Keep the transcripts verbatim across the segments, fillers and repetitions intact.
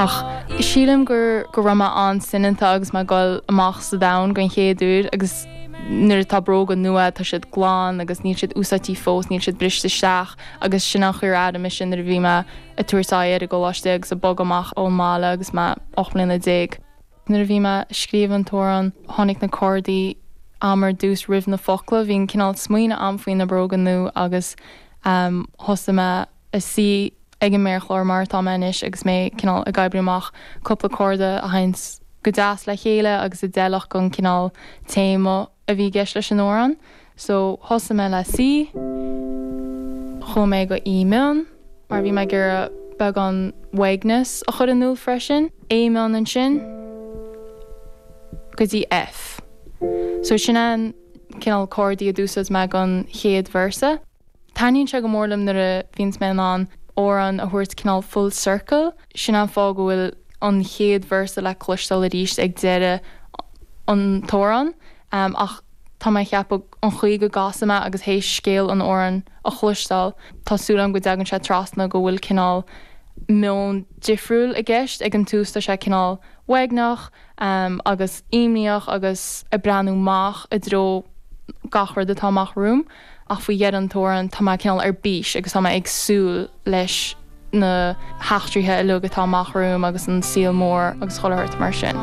Ach sílim gur go raibh mé an-soineanta agus mé ag dul amach sa domhan don chéad uair agus nuair atá bróga nua tá siad glan agus níl siad úsáidte fós, níl siad briste isteach agus sin an chaoi ar airigh mise nuair a bhí mé ag tabhairt aghaidh ar an gcoláiste agus ag bogadh amach ón mbaile agus mé ocht mbliana déag. Nuair a bhí mé ag scríobh an t-amhrán tháinig na cordaí a'm ar dtús roimh na focla, bhí an cineál smaoineamh a'm faoi na bróga nua agus um, thosaigh mé ag suí ag an méarchlár mar atá mé anois agus mé cineál ag oibriú amach cúpla corda a théann go deas le chéile agus a d'fheilfeadh don cineál téama a bhí i gceist leis an amhrán. So thosaigh mé le C, chuaigh mé go E mion, mar bhí mé ag iarraidh beagán uaigneas a chur in iúl freisin, A mion ansin go dtí F. So sin an cineál cordaí a d'úsáid mé don chéad véarsa. Taitníonn sé go mór liom nuair a bhíonns mé in ann amhrán a thabhairt cineál full circle, sin an fáth go bhfuil an chéad véarsa le cloisteáil arís ag deireadh an t-amhrán um, ach tá mé ag ceapadh an chaoi go gcasaim é agus théis scéal an amhráin a chloisteáil tá súil agam go dtagann sé trasna go bhfuil cineál meon difriúil i gceist ag an tús tá sé cineál uaigneach um, agus imníoch agus ag breathnú amach i dtreo gach rud atá amach romham ach faoi dheireadh an t-amhrán tá mé cineál ar bís agus tá mé ag súil leis na heachtraí uilig atá amach romham agus an saol mór agus chuile shórt mar sin.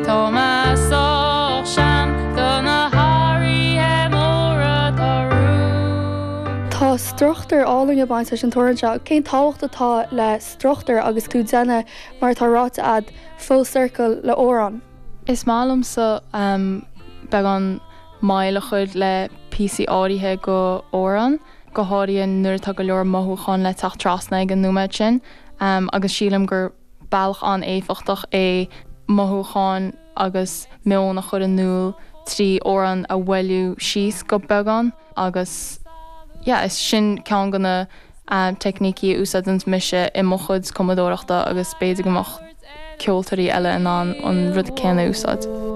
Tá mé sách sean do na hathruithe móra atá romham. Tá struchtúr álainn ag baint leis an t-amhrán seo, cén tábhacht atá le struchtúr agus tú ag déanamh mar atá ráite agat full circle le amhrán. Is maith liomsa um, beagán moill a chur le píosaí áirithe d'amhrán, go háirithe nuair atá go leor mothúchán le teacht trasna ag an nóiméad sin, um, agus sílim gur bealach an-éifeachtach é mothúcháin agus meon a chur in iúl trí amhrán a mhoilliú síos go beagán agus yeah, is sin ceann de na um, teicnící a úsáideann mise i mo chuid cumadóireachta agus b'fhéidir go mbeadh ceoltóirí eile in ann an rud céanna a úsáid.